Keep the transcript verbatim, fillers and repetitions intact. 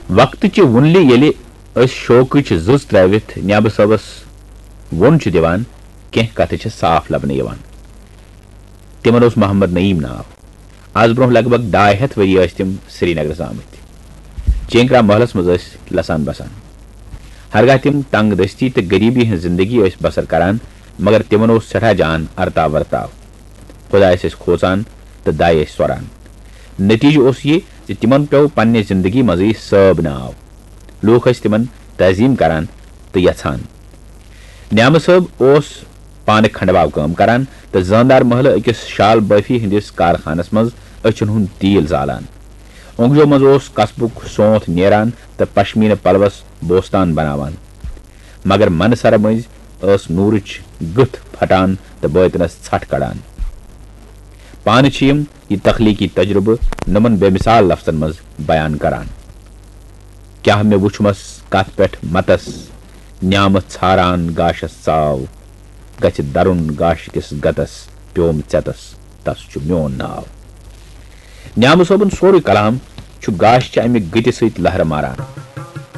وقتہٕ چہِ وُنلہِ ییٚلہِ أسۍ شوقٕچ زٕژ ترٛٲوِتھ نیبہٕ صٲبس ووٚن چھِ دِوان، کینٛہہ کتھٕ چھِ صاف لبنہٕ یِوان۔ تِمن اوس محمد نعیم ناو۔ از برونٛہہ لگ بگ ڈاے ہتھ ؤری ٲسۍ تِم سرینگرس آمٕتۍ۔ چینکرا محلس منٛز ٲسۍ لسان بسان۔ ہرگاہ تِم تنگ دستی تہٕ غریبی ہٕنٛز زندگی ٲسۍ بسر کران، مگر تِمن اوس سٮ۪ٹھاہ جان ارتاو ورتاو۔ خدایس ٲسۍ کھوژان تہٕ دایہِ ٲسۍ سۄران۔ نتیجہٕ اوس یہِ زِ تِمن پیوٚو پننہِ زندگی منٛزٕے صٲب ناو۔ لوٗکھ ٲسۍ تِمن تعظیم کران تہٕ یژھان۔ نیامہٕ صٲب اوس پانہٕ کھنڈواو کٲم کران تہٕ زٲندار محلہٕ أکِس شال بٲفی ہٕنٛدِس کارخانس منٛز أچھن ہُنٛد تیٖل زالان۔ اونگجو منٛز اوس قصبُک سونتھ نیران تہٕ پشمینہٕ پلوس بوستان بناوان۔ مگر منہٕ سرٕ مٔنٛزۍ ٲس نوٗرٕچ گٕتھ پھٹان تہٕ بٲطنس ژھٹھ کڑان۔ پانہٕ چھِ یِم یہِ تخلیقی تجربہٕ نۄمن بے مثال لفظن منٛز بیان کران۔ کیٛاہ مےٚ وُچھمس کتھ پٮ۪ٹھ متس، نیامہٕ ژھاران گاشس ژاو، گژھِ درُن گاشہِ کِس گتس، پیوم ژٮ۪تس، تس چھُ میون ناو۔ نیامہٕ صٲبُن سورُے کلام چھُ گاشہِ چہِ امہِ گٕتہِ سۭتۍ لہرٕ ماران۔